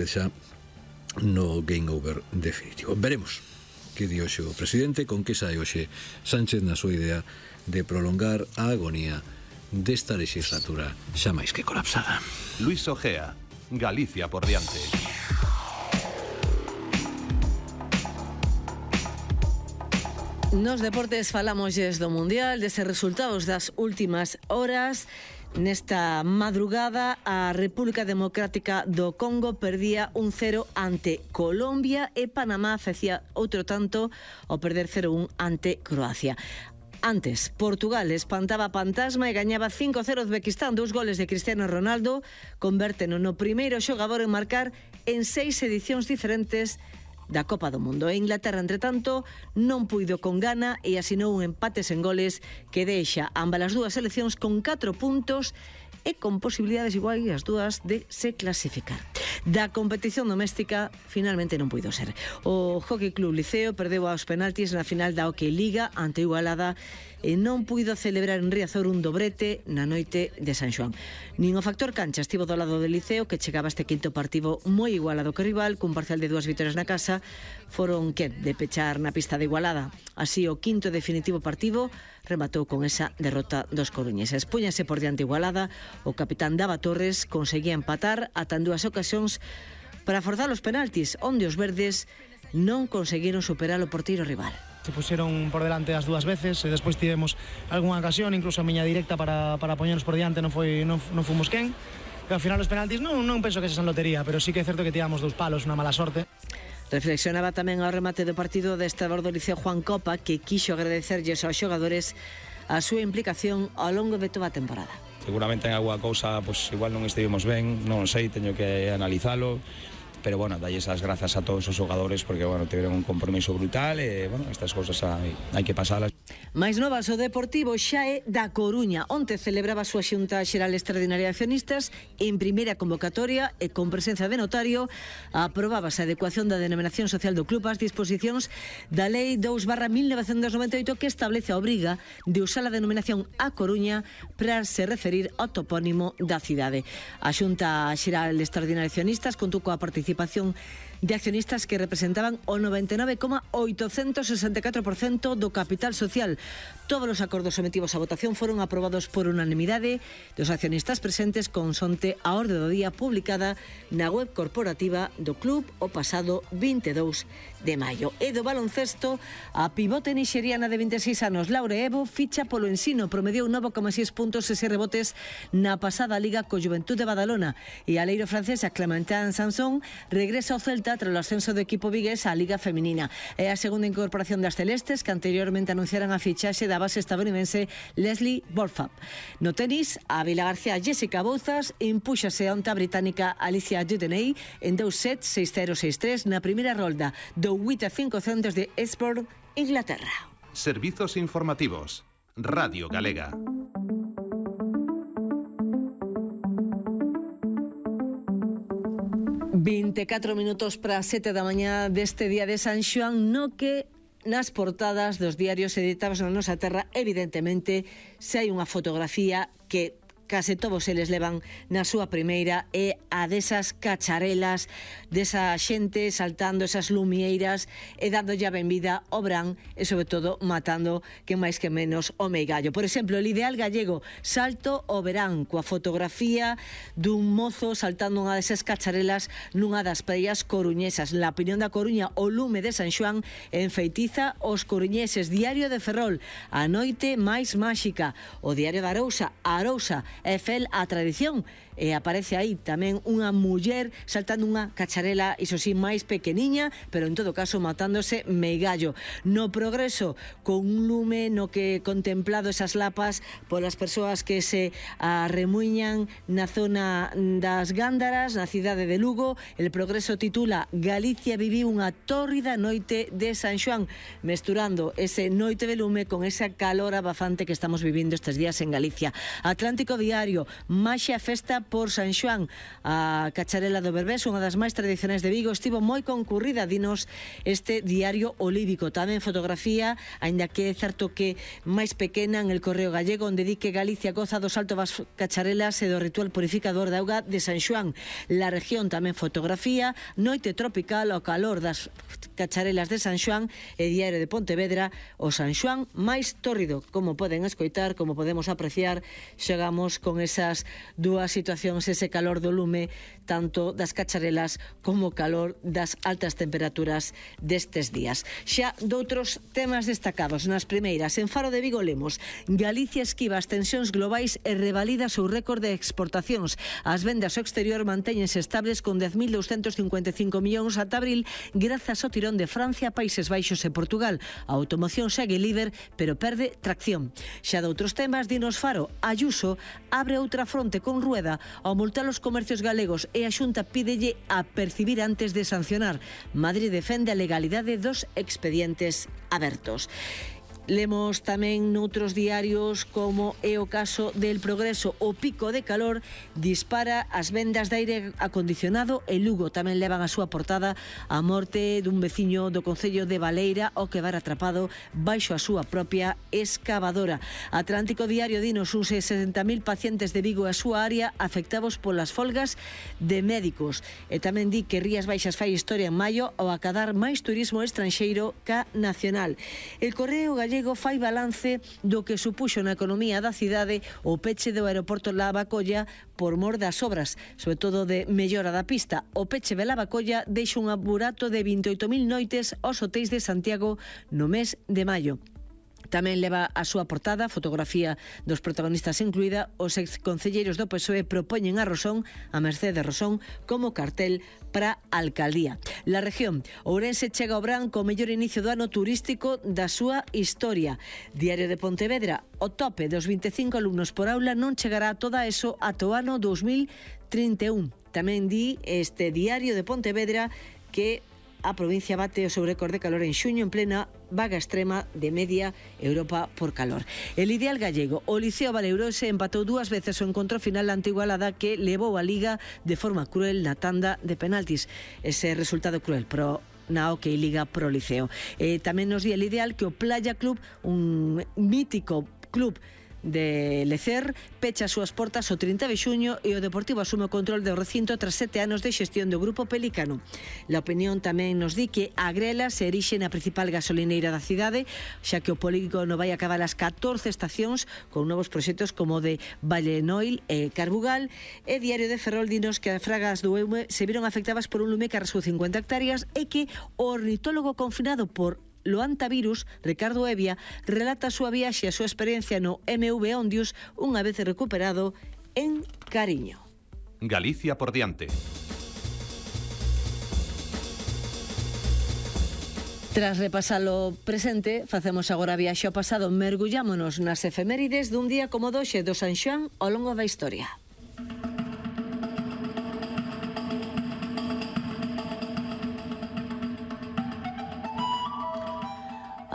xa no game over definitivo. Veremos que di hoxe o presidente, con que sae hoxe Sánchez na súa idea de prolongar a agonía desta legislatura xa máis que colapsada. Luis Ojea, Galicia por diante. Nos deportes falámosles do Mundial, deses resultados das últimas horas. Nesta madrugada, a República Democrática do Congo perdía 1-0 ante Colombia e Panamá facía outro tanto ao perder 0-1 ante Croacia. Antes, Portugal espantaba a Pantasma e gañaba 5-0 Uzbequistán. 2 goles de Cristiano Ronaldo convérteno no primeiro xogador en marcar en 6 edicións diferentes da Copa do Mundo. E Inglaterra, entre tanto, non puido con Ghana e asinou un empate sen goles que deixa ambas as dúas seleccións con 4 puntos e con posibilidades iguais as dúas de se clasificar. Da competición doméstica finalmente non puido ser. O Hockey Club Liceo perdeu aos penaltis na final da Hockey Liga ante Igualada e non puido celebrar en Riazor un dobrete na noite de San Xoán. Nin o factor cancha estivo do lado do Liceo, que chegaba este quinto partido moi igualado que rival, cun parcial de 2 vitorias na casa. Foron de pechar na pista de Igualada. Así o quinto definitivo partido rematou con esa derrota dos coruñeses. Púñase por diante Igualada, o capitán Dava Torres conseguía empatar ata en 2 ocasións para forzar os penaltis, onde os verdes non conseguiron superar o porteiro rival. Se puxeron por delante as 2 veces e despois tivemos algunha ocasión, incluso a miña directa para poñernos por diante, non fomos quen. E ao final os penaltis non penso que se san lotería, pero sí que é certo que tiramos 2 palos, unha mala sorte. Reflexionaba tamén ao remate do partido deste ador do Liceo Juan Copa, que quixo agradecerlles aos xogadores a súa implicación ao longo de toda a temporada. Seguramente en alguna cousa pues, igual non estivemos ben, non sei, teño que analizalo, pero bueno, dalles as grazas a todos os xogadores porque bueno, tiveron un compromiso brutal e bueno, estas cousas hai que pasalas. Mais novas, o Deportivo xa é da Coruña. Onte celebraba a súa xunta xeral extraordinaria de accionistas en primeira convocatoria e con presencia de notario aprobábase a adecuación da denominación social do club ás disposicións da Lei 2/1998 que establece a obriga de usar a denominación A Coruña para se referir ao topónimo da cidade. A xunta xeral extraordinaria de accionistas contou coa participación de accionistas que representaban o 99,864% do capital social. Todos os acordos sometidos a votación foron aprobados por unanimidade dos accionistas presentes consonte a orde do día publicada na web corporativa do club o pasado 22 de maio. E do baloncesto, a pivote nixeriana de 26 anos Laure Evo ficha polo Ensino, promediou 9,6 puntos e 6 rebotes na pasada liga co Juventud de Badalona, e a aleiro francesa Clementine Sanson regresa ao Celta tras o ascenso do equipo vigués á Liga Feminina. É a segunda incorporación das celestes, que anteriormente anunciaran a fichaxe da base estadounidense Leslie Borfab. No tenis, a Vilagarcía Jessica Bouzas impúxase onte a británica Alicia Judeney en 2 sets 6-0, 6-3 na primeira rolda do 8-5 centros de Eastbourne, Inglaterra. Servizos informativos. Radio Galega. ...24 minutos para 7 da mañá deste día de San Xoán, no que nas portadas dos diarios editados na nosa terra, evidentemente, se hai unha fotografía que case todos eles levan na súa primeira, é a desas cacharelas, desa xente saltando esas lumieiras e dándolle a benvida ao verán e, sobre todo, matando que máis que menos o meigallo. Por exemplo, el Ideal Gallego, salto ao verán, coa fotografía dun mozo saltando unha desas cacharelas nunha das praias coruñesas. Na opinión da Coruña, o lume de San Xoán enfeitiza os coruñeses. Diario de Ferrol, a noite máis máxica. O Diario da Arousa, é fel a tradición, e aparece aí tamén unha muller saltando unha cacharela, iso sí, máis pequeniña, pero en todo caso matándose meigallo. No Progreso, con un lume no que contemplado esas lapas polas persoas que se arremuiñan na zona das Gándaras, na cidade de Lugo. El Progreso titula Galicia viviu unha tórrida noite de San Xoán, mesturando ese noite de lume con esa calor abafante que estamos vivindo estes días en Galicia. Atlántico diario. Maxia festa por San Xoán. A cacharela do Berbés, unha das máis tradicionais de Vigo, estivo moi concurrida, dinos este diario olívico. Tamén fotografía, aínda que é certo que máis pequena, en el Correo Gallego, onde di que Galicia goza do salto das cacharelas e do ritual purificador da auga de San Xoán. La Región tamén fotografía, noite tropical ao calor das cacharelas de San Xoán, e Diario de Pontevedra, o San Xoán máis tórrido. Como poden escoitar, como podemos apreciar, xogamos con esas dúas situacións, ese calor do lume, tanto das cacharelas como o calor das altas temperaturas destes días. Xa doutros temas destacados. Nas primeiras, en Faro de Vigo lemos: Galicia esquiva as tensións globais e revalida o seu récord de exportacións. As vendas ao exterior mantéñense estables con 10.255 millóns ata abril, grazas ao tirón de Francia, Países Baixos e Portugal. A automoción segue líder, pero perde tracción. Xa doutros temas, dinos Faro, Ayuso abre outra fronte con Rueda ao multar os comercios galegos e a Xunta pídelle a percibir antes de sancionar. Madrid defende a legalidade dos expedientes abertos. Lemos tamén noutros diarios, como é o caso del Progreso. O pico de calor dispara as vendas de aire acondicionado e Lugo tamén levan a súa portada a morte dun veciño do concello de Baleira ao quedar atrapado baixo a súa propia excavadora. Atlántico Diario dinos uns 60.000 pacientes de Vigo e a súa área afectados polas folgas de médicos. E tamén di que Rías Baixas fai historia en maio ao acadar máis turismo estranxeiro ca nacional. El Correo Gallego fai balance do que supuxo na economía da cidade o peche do aeroporto Lavacolla por mor das obras, sobre todo de mellora da pista. O peche de Lavacolla deixa un apurato de 28.000 noites aos hotéis de Santiago no mes de maio. Tamén leva a súa portada, fotografía dos protagonistas incluída, os exconcelleiros do PSOE propoñen a Rosón, a Mercedes Rosón, como cartel para a alcaldía. La Región, Ourense chega ao Brán co mellor inicio do ano turístico da súa historia. Diario de Pontevedra, o tope dos 25 alumnos por aula non chegará a toda eso ata o ano 2031. Tamén di este Diario de Pontevedra que a provincia bate o seu récord de calor en xuño en plena vaga extrema de media Europa por calor. El ideal gallego, o Liceo Valeuroense empatou dúas veces o encontro final ante Igualada, que levou a Liga de forma cruel na tanda de penaltis. Ese resultado cruel, pero na OK Liga pro Liceo. Tamén nos di el ideal que o Playa Club, un mítico club de Lecer, pecha as súas portas o 30 de xuño e o Deportivo asume o control do recinto tras 7 anos de xestión do Grupo Pelícano. La Opinión tamén nos di que a Grela se erixe na principal gasolineira da cidade, xa que o polígono vai acabar as 14 estacións con novos proxectos como o de Vallenoil e Carbugal. E Diario de Ferrol dinos que as fragas do Eume se viron afectadas por un lume que arrasou 50 hectáreas e que o ornitólogo confinado por Loantavirus, Ricardo Evia, relata a súa viaxe e a súa experiencia no MV Ondius unha vez recuperado en Cariño. Galicia por diante. Tras repasar o presente, facemos agora a viaxe ao pasado. Mergullámonos nas efemérides dun día como doxe do San Xoán ao longo da historia.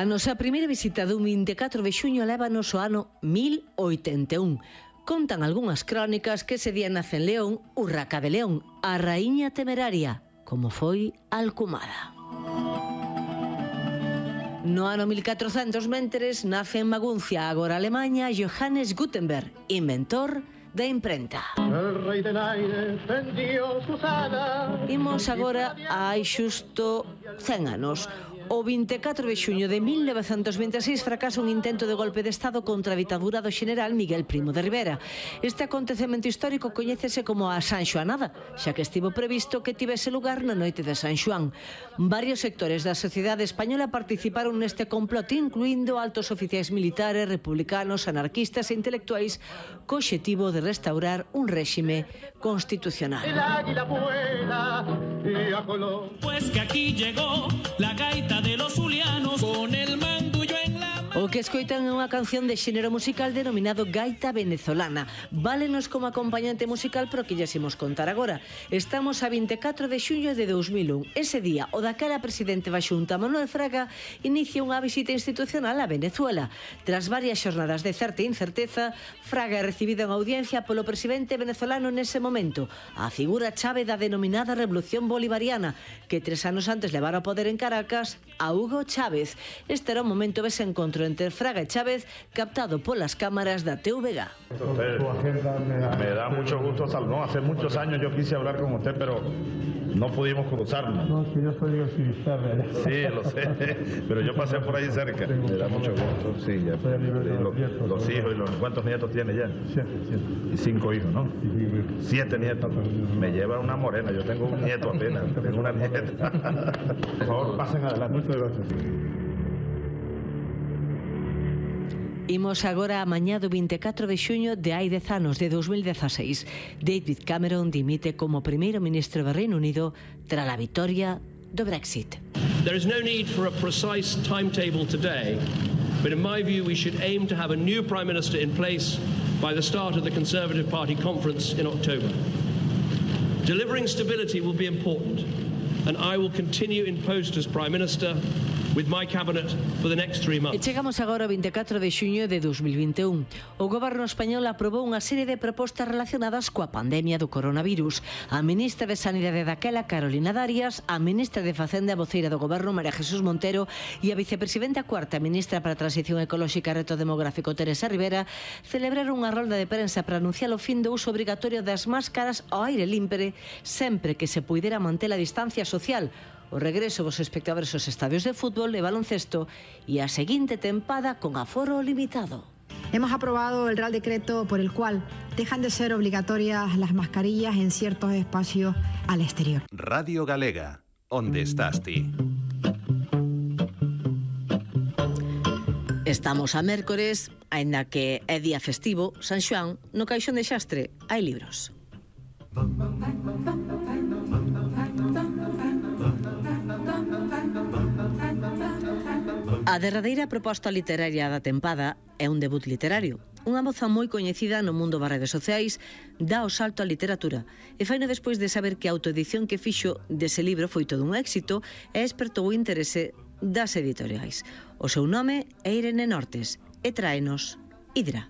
A nosa primeira visita dun 24 de xuño lévanos ao ano 1081. Contan algunhas crónicas que ese día nace en León Urraca de León, a raíña temeraria, como foi alcumada. No ano 1400, mentres, nace en Maguncia, agora Alemanha, Johannes Gutenberg, inventor da imprenta. El rei del aire tendió sus alas. Imos agora a hai xusto 100 anos. O 24 de xuño de 1926 fracasa un intento de golpe de Estado contra a ditadura do xeneral Miguel Primo de Rivera. Este acontecemento histórico coñécese como a San Xoanada, xa que estivo previsto que tivese lugar na noite de San Xoán. Varios sectores da sociedade española participaron neste complot, incluindo altos oficiais militares, republicanos, anarquistas e intelectuais, co obxectivo de restaurar un réxime constitucional. El águila vuela y a color. Pues que aquí llegó la gaita de los zulianos con el mandullo en la mano. O que escoitan é unha canción de xénero musical denominado gaita venezolana. Válenos como acompañante musical, pero que lles imos contar agora. Estamos a 24 de xuño de 2001. Ese día, o daquela presidente da Xunta, Manuel Fraga, inicia unha visita institucional a Venezuela. Tras varias xornadas de certa incerteza, Fraga é recibido en audiencia polo presidente venezolano nese momento, a figura chave da denominada Revolución Bolivariana, que 3 anos antes levara ao poder en Caracas a Hugo Chávez. Este era un momento dese encontro entre Fraga e Chávez, captado polas cámaras da TVG. Me da mucho gusto saludar. Hace muchos años yo quise hablar con usted, pero no pudimos cruzarnos. No, que yo soy activista. Sí, lo sé, pero yo pasé por ahí cerca. Me da mucho gusto. Sí, ya. Los hijos, ¿cuántos nietos tiene ya? 7. Y 5 hijos, ¿no? 7 nietos. Me lleva una morena. Yo tengo un nieto apenas. Tengo una nieta. Por favor, pasen adelante. Muchas gracias. Imos agora a mañá do 24 de xuño de hai 10 anos, de 2016. David Cameron dimite como primeiro ministro do Reino Unido tras a vitoria do Brexit. There is no need for a precise timetable today, but in my view we should aim to have a new Prime Minister in place by the start of the Conservative Party conference in October. Delivering stability will be important, and I will continue in post as Prime Minister with my cabinet for the next 3 months. E chegamos agora ao 24 de xuño de 2021. O goberno español aprobou unha serie de propostas relacionadas coa pandemia do coronavirus. A ministra de Sanidade daquela, Carolina Darias, a ministra de Facenda e voceira do goberno, María Jesús Montero, e a vicepresidenta cuarta ministra para a Transición Ecolóxica e Reto Demográfico, Teresa Rivera, celebraron unha rolda de prensa para anunciar o fin do uso obrigatorio das máscaras ao aire limpre, sempre que se puidera manter a distancia social, o regreso dos espectadores aos estadios de fútbol e baloncesto e a seguinte tempada con aforo limitado. Hemos aprobado el Real Decreto por el cual dejan de ser obligatorias las mascarillas en ciertos espacios al exterior. Radio Galega, onde estás ti? Estamos a mércores, aínda que é día festivo, San Xoán, no caixón de xastre hai libros. A derradeira proposta literaria da tempada é un debut literario. Unha moza moi coñecida no mundo das redes sociais dá o salto á literatura e faino despois de saber que a autoedición que fixo dese libro foi todo un éxito e despertou o interese das editoriais. O seu nome é Irene Nortes e tráenos Hidra.